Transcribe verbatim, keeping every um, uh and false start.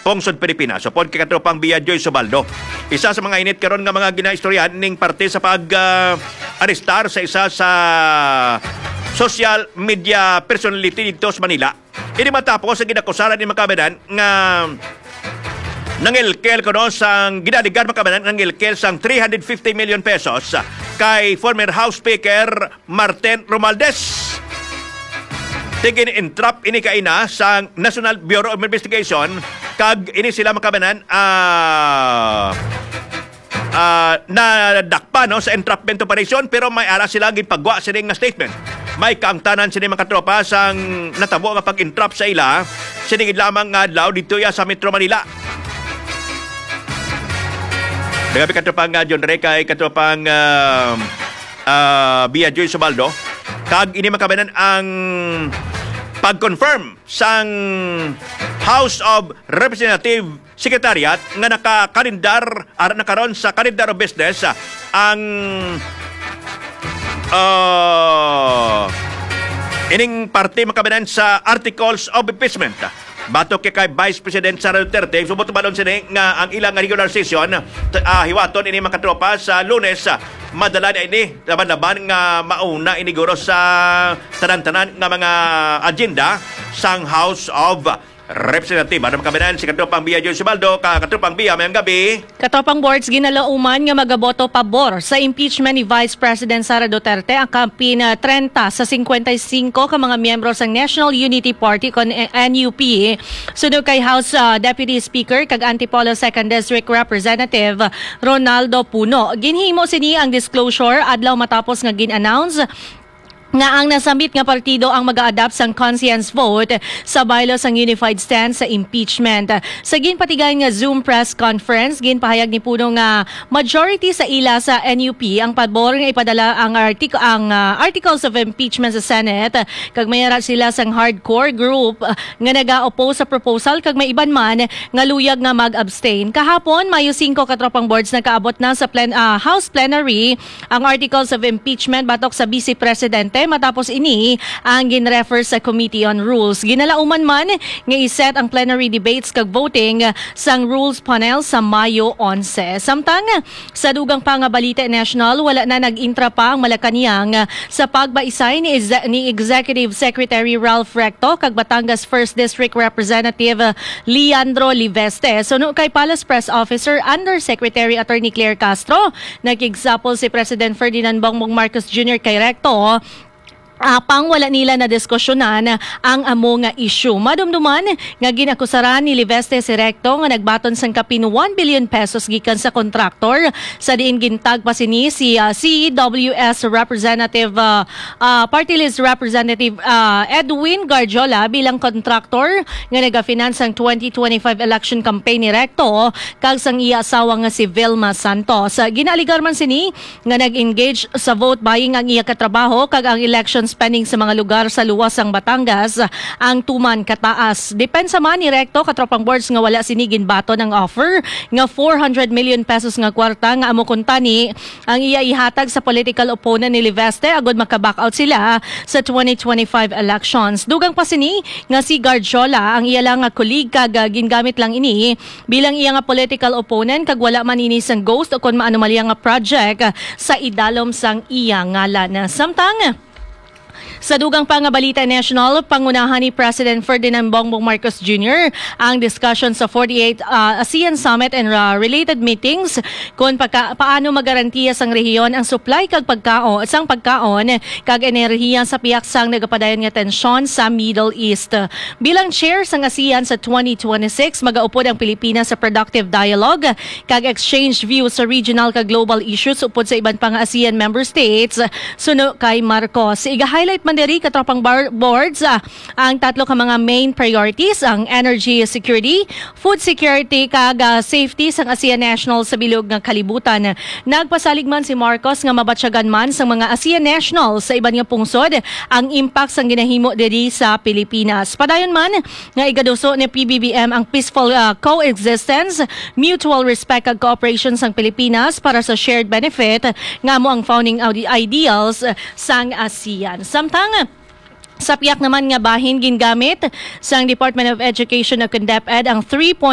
Pungsod Pilipinas, upod kay katropang Bia Joy Subaldo. Isa sa mga init karon nga mga ginaistoryahan ning parte sa pag, ah, arestar sa isa sa social media personality dito sa Manila. Ini matapos ang ginakusaran ni makabanan nga nangilkel kuno sang ginaligar makabanan nga nangilkel sang three hundred fifty million pesos kay former House Speaker Martin Romualdez. Tigin-entrap ini kaina sang National Bureau of Investigation, kag ini sila makabanan, ah, ah, nadakpan, no, sa entrapment operation, pero may ara sila gipagwa sini nga statement. May kaangtanan sini, mga katropa, sang natabo nga pag-entrap sa ila sini gid lamang nga adlaw dito ya sa Metro Manila. Nagabi katropang, ah, John Ray, kay katropang, ah, ah, Bia Joy Subaldo. Kag ini makabanan ang pag-confirm sang House of Representative Secretariat nga nakakalendar, ara na karon sa calendar of business, ah, ang, ah, ining parte makabanan sa articles of impeachment. Batok kay, kay Vice President Sara Duterte, subot balon sini nga ang ilang regular session, t-, ah, hiwaton ini, mga katropa, sa Lunes, ah, madala na ini, laban-laban nga mauna ini guro sa tanan-tanan nga mga agenda sang House of Representative. Ano makabanan si katropang Bia John Sibaldo, ka katropang Bia, mayang gabi. Katropang Boards, ginalauman nga magaboto pabor sa impeachment ni Vice President Sara Duterte ang kapin, ah, trenta sa cincuenta y cinco ka mga miyembro sang National Unity Party kon N U P, suno kay House, ah, Deputy Speaker kag Antipolo Second District Representative Ronaldo Puno. Ginhimo sini ang disclosure adlaw matapos nga gin-announce nga ang nasambit nga partido ang mag-a-adopt sang conscience vote sa bylaw sang unified stance sa impeachment. Sa ginpatigayon nga Zoom press conference, ginpahayag ni Puno nga majority sa ila sa N U P ang pabor nga ipadala ang artik-, ang, ah, articles of impeachment sa Senate, kag may ara sila sang hardcore group, ah, nga naga-oppose sa proposal, kag may iban man nga luyag nga mag-abstain. Kahapon, Mayo singko, katropang Boards, nagkaabot na sa plen-, ah, House plenary ang articles of impeachment batok sa Vice Presidente. Matapos ini, ang ginrefer sa Committee on Rules. Ginalauman man nga i-set ang plenary debates kag voting sang Rules Panel sa Mayo onse. Samtang sa dugang pa nga balita national, wala na nag-intra pa ang Malacañang sa pagbaisay ni Exe-, ni Executive Secretary Ralph Recto kag Batangas First District Representative Leandro Liveste. Suno kay Palace Press Officer Undersecretary Attorney Claire Castro, nakigsapol si President Ferdinand Bongbong Marcos Junior kay Recto, apang wala nila nadiskusyonan ang amo nga issue. Madumduman nga ginakusaran ni Liveste si Recto nga nagbaton sang kapin one billion pesos gikan sa kontraktor, sa diin gintag pa sini si, ah, C W S Representative, ah, ah, Party List Representative, ah, Edwin Garjola bilang kontraktor nga nagafinance sang twenty twenty-five election campaign ni Recto kag sang iya asawa nga si Vilma Santos. Ginaaligar man sini nga nag-engage sa vote buying ang iya katrabaho kag ang election spending sa mga lugar sa luwas sang Batangas ang tuman kataas. Depensa man ni Recto, katropang Boards, nga wala sini ginbaton ang offer nga four hundred million pesos nga kwarta nga amo kuntani ang iya ihatag sa political opponent ni Liveste agud maka-back out sila sa twenty twenty-five elections. Dugang pa sini nga si Garjola ang iya lang nga colleague kag, ah, gingamit lang ini bilang iya nga political opponent kag wala man ini sang ghost o kon maanomalya nga project sa idalom sang iya ngalan. Samtang sa dugang pa nga balita national, pangunahan ni President Ferdinand Bongbong Marcos Junior ang discussion sa forty-eight, ah, ASEAN Summit and, ah, related meetings kon pagka-, paano magarantiya sang rehiyon ang supply kag pagkaon, sang pagkaon kag enerhiya sa pihak sang nagapadayon nga tensyon sa Middle East. Bilang chair sang ASEAN sa twenty twenty-six, magaupod ang Pilipinas sa productive dialogue kag exchange views sa regional kag global issues upod sa iban pa nga ASEAN member states, suno kay Marcos. Iga-highlight man diri, katropang bar-, Boards, ah, ang tatlo ka mga main priorities, ang energy security, food security, kag, ah, safety sang ASEAN nationals sa bilog nga kalibutan. Nagpasalig man si Marcos nga mabatyagan man sang mga ASEAN nationals sa iban nga pungsod ang impact sang ginahimo diri sa Pilipinas. Padayon man nga igaduso ni P B B M ang peaceful, ah, coexistence, mutual respect kag cooperation sang Pilipinas para sa shared benefit nga amo ang founding audi-, ideals sang ASEAN. Samtang sa pihak naman nga bahin, gingamit sang Department of Education o kon DepEd ang three